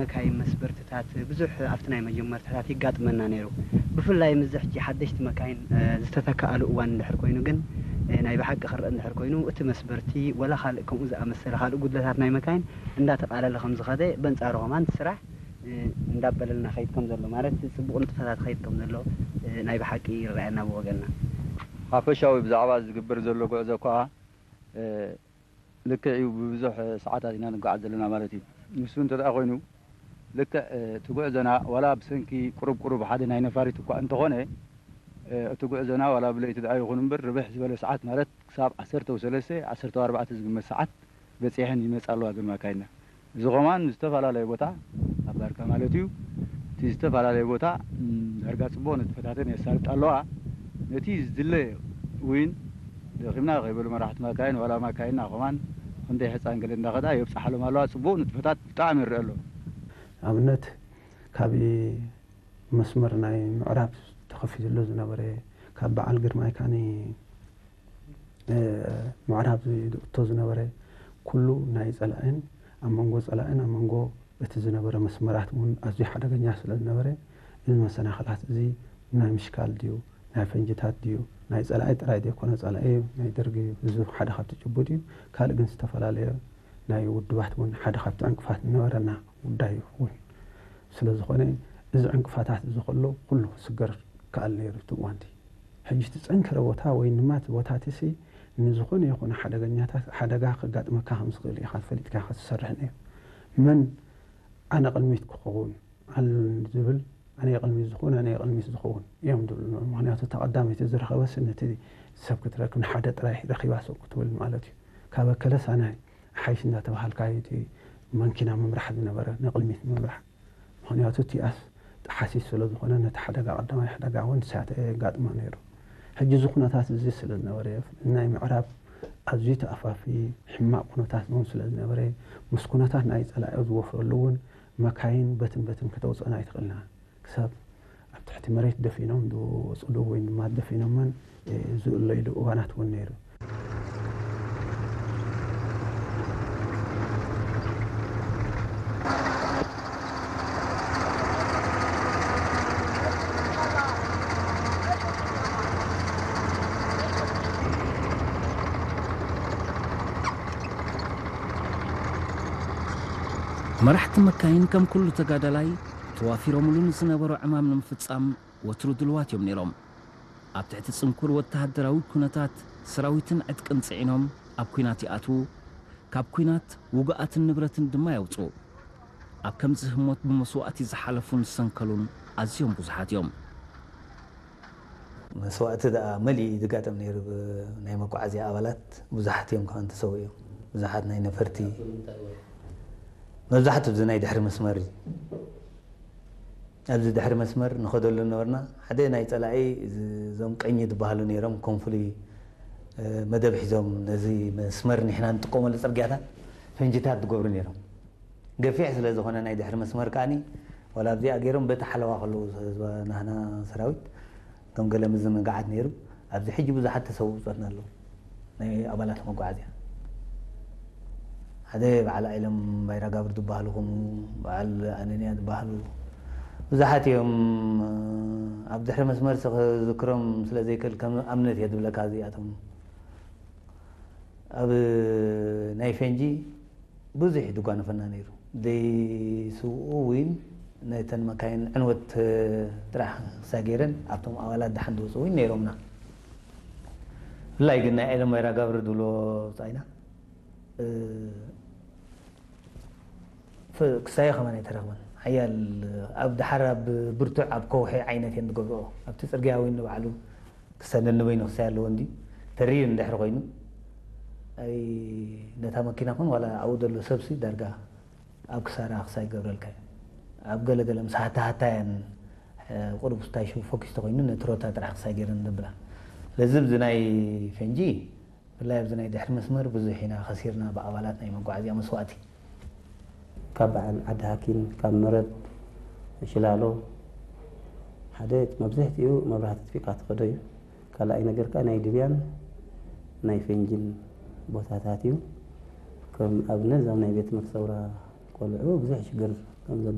መካይን መስበርትታት ብዙሕ ኣብቲ ናይ መጀመርታታት ይጋጥመና ነይሩ። ብፍላይ ምስዚ ሕጂ ሓደሽቲ መካይን ዝተተክኣሉ እዋን እንድሕር ኮይኑ ግን፣ ናይ ብሓቂ ክረአ እንድሕር ኮይኑ፣ እቲ መስበርቲ ወላ ካልእ ከምኡ ዝኣመሰለ ካልእ ጉድለታት ናይ መካይን እንዳተቓለለ ከም ዝኸደ፣ በንጻሩ ከማን እቲ ስራሕ እንዳበለልና ከይድ ከም ዘሎ፣ ማለት ጽቡቕ ንጥፈታት ከይድ ከም ዘሎ ናይ ብሓቂ ይረኣየና ብወገንና። ሓፈሻዊ ብዛዕባ ዝግበር ዘሎ ጉዕዞ እኳ ልክዕ እዩ፣ ብብዙሕ ሰዓታት ኢና ንጓዓዝ ዘለና ማለት እዩ። ንሱ እንተ ደኣ ኮይኑ፣ ልክዕ እቲ ጉዕዞና ዋላ ብሰንኪ ቁሩብ ቁሩብ ሓደ ናይ ነፋሪት እኳ እንተኾነ፣ እቲ ጉዕዞና ዋላ ብለይቲ ደኣ ይኹን እምበር፣ ርብሕ ዝበለ ሰዓት ማለት ክሳብ ዓሰርተ ሰለስተ፣ ዓሰርተ ኣርባዕተ ዝግመት ሰዓት በጺሐን ይመጻ ኣለዋ ግን ማካይንና። እዚ ኸማን ዝተፈላለየ ቦታ፣ ኣብ ባርካ ማለት እዩ፣ እቲ ዝተፈላለየ ቦታ ዳርጋ ጽቡቕ ንጥፈታተን የሳልጣ ኣለዋ። ነቲ ዝድለ እውን ደኺምና ከይበሉ መራሕቲ ማካይን ዋላ ማካይንና ኸማን ክንደይ ሕፃን ገለ እንዳኸዳ የብፅሓሎም ኣለዋ። ጽቡቕ ንጥፈታት ብጣዕሚ ይረአ ኣሎ። ኣብነት ካብ መስመር ናይ ምዕራብ ተኸፊትሎ ዝነበረ ካብ በዓል ግርማይ ካኒ ምዕራብ ዝእቶ ዝነበረ ኩሉ ናይ ጸላእን ኣብ መንጎ ጸላእን ኣብ መንጎ እቲ ዝነበረ መስመራት እውን ኣዝዩ ሓደገኛ ስለ ዝነበረ፣ እዚ መሰናኽላት እዚ ናይ ምሽካል ድዩ፣ ናይ ፈንጅታት ድዩ፣ ናይ ጸላኢ ጥራይ ዘይኮነ፣ ጸላኢ ናይ ደርጊ እዩ። እዚ ሓደ ካብቲ ጭቡጥ እዩ። ካልእ ግን ዝተፈላለየ ናይ ውድባት እውን ሓደ ካብቲ ዕንቅፋት ዝነበረና ጉዳይ ይኸውን። ስለ ዝኾነ፣ እዚ ዕንቅፋታት እዚ ከሎ ኩሉ ክስገር ከኣል ነይሩ እቲ እዋንቲ። ሕጂ እቲ ጸንከረ ቦታ ወይ ድማ እቲ ቦታ እቲ ሲ ንዝኾነ ይኹን ሓደገኛታት ሓደጋ ከጋጥመካ ከም ዝኽእል ኢኻ ፈሊጥካ ኢኻ ትሰርሕ ነይሩ። መን ኣነ ቅድሚት ክኸውን ኣሉን ዝብል ኣነ ቅድሚት ዝኸውን ኣነ ቅድሚት ዝኸውን እዮም ዝብሉ። ምክንያቱ እታ ቀዳመይቲ ዝረኸበስ ነቲ ሰብ ክትረክብ ንሓደ ጥራይ ረኺባ ሰብ ክትብል ማለት እዩ። ካብ ኣከለስ ኣነ ሓይሽ እንዳተባሃልካ እዩ እቲ መንኪና ምምራሕ ዝነበረ ንቕድሚት ምምራሕ። ምኽንያቱ እቲኣስ ጠሓሲስ ስለ ዝኾነ ነቲ ሓደጋ ቀዳማይ ሓደጋ እውን ሳተ የጋጥሞ ነይሩ። ሕጂ እዚ ኩነታት እዚ ስለ ዝነበረ ናይ ምዕራብ ኣዝዩ ተኣፋፊ ሕማቕ ኩነታት እውን ስለ ዝነበረ ምስ ኩነታት ናይ ጸላኢ ዝወፍረሉ እውን መካይን በትን በትን ከተውፅአን ኣይትኽእልና። ክሳብ ኣብ ትሕቲ መሬት ደፊኖም ዝወፅሉ ወይ ድማ ደፊኖመን ዝእለይሉ እዋናት እውን ነይሩ። መራሕቲ መካይን ከም ኩሉ ተጋዳላይ ተዋፊሮምሉ ንዝነበሮ ዕማም ንምፍጻም ወትሩ ድልዋት እዮም ነይሮም። ኣብ ትሕቲ ጽንኩር ወተሃደራዊ ኩነታት ሰራዊትን ዕጥቅን ጽዒኖም ኣብ ኲናት ይኣትዉ፣ ካብ ኲናት ውጉኣትን ንብረትን ድማ የውጽኡ። ኣብ ከምዚ ህሞት ብመስዋእቲ ዝሓለፉን ዝሰንከሉን ኣዝዮም ብዙሓት እዮም። መስዋእቲ ደኣ መሊኡ እዩ ዝጋጠም ነይሩ። ናይ መጓዓዝያ ኣባላት ብዙሓት እዮም ከማን ተሰዊኦም። ብዙሓት ናይ ነፈርቲ መብዛሕትኡ እዚ ናይ ድሕሪ መስመር እዩ። ኣብዚ ድሕሪ መስመር ንኸደሉ ነበርና። ሓደ ናይ ጸላኢ እዞም ቀኝ ዝበሃሉ ነይሮም ኮንፍሉይ መደብ ሒዞም ነዚ መስመር ንሕና ንጥቀመሉ ጽርግያታት ፈንጅታት ዝገብሩ ነይሮም። ገፊሕ ስለ ዝኾነ ናይ ድሕሪ መስመር ከኣኒ ዋላ ኣብዚኣ ገይሮም በቲ ሓለዋ ከለዉ ናህና ሰራዊት ከም ገለ ምዝንጋዓት ነይሩ። ኣብዚ ሕጂ ብዙሓት ተሰውኡ ብጾትና ኣለዉ ናይ ኣባላት መጓዓዝያ። ሓደ በዓል ኣይለም ባይራጋብር ዝበሃሉ ከምኡ በዓል ኣነንያ ዝበሃሉ ብዙሓት እዮም። ኣብ ድሕሪ መስመር ክዝክሮም ስለ ዘይክእል ከም ኣብነት እየ ዝብለካ እዚኣቶም ኣብ ናይ ፈንጂ ብዙሕ እዩ ዝጓነፈና ነይሩ። ዘይስውኡ እውን ነተን መካይን ዕንወት ጥራሕ ክሳይ ገይረን ኣብቶም ኣባላት ደሓን ዝወፁ እውን ነይሮምና። ብፍላይ ግን ናይ ዒለም ወይራ ጋብር ዝብሎ ውፃኢና ክሳዮ ከማን ኣይተረኽበን። ሓያል ኣብ ድሓር ኣብ ብርቱዕ ኣብ ከውሒ ዓይነት እየን ዝገብርኦ ኣብቲ ፅርግያ እውን ንባዕሉ ክሰደኒ በይኑ ክሳይ ኣለዎ እንዲ ተሪር እንድሕር ኮይኑ ኣይ ነታ መኪና ኹን ዋላ ኣብኡ ዘሎ ሰብሲ ዳርጋ ኣብ ክሳራ ክሳይ ገብረልካ እዩ ኣብ ገለ ገለ ምስ ሃታ ሃታያን ቁሩብ ስታይ ሽው ፎኪስ ተኮይኑ ነቲ ሮታ ጥራሕ ክሳይ ገይረን ዘብላ ስለዚ ብዚ ናይ ፈንጂ ብፍላይ ኣብዚ ናይ ድሕሪ መስመር ብዙሕ ኢና ከሲርና ብኣባላት ናይ መጓዓዝያ መስዋእቲ ካብ በዓል ዓዲ ሃኪን ካብ መረብ ሽላሎ ሓደ መብዝሕትኡ መብራህቲ ኣጥፊእካ ትኸዶ እዩ። ካልኣይ ነገር ከዓ ናይ ድብያን ናይ ፈንጅን ቦታታት እዩ። ከም ኣብነት እዞም ናይ ቤት ትምህርቲ ሰውራ ቆልዑ ብዙሕ ሽግር ኣብዚ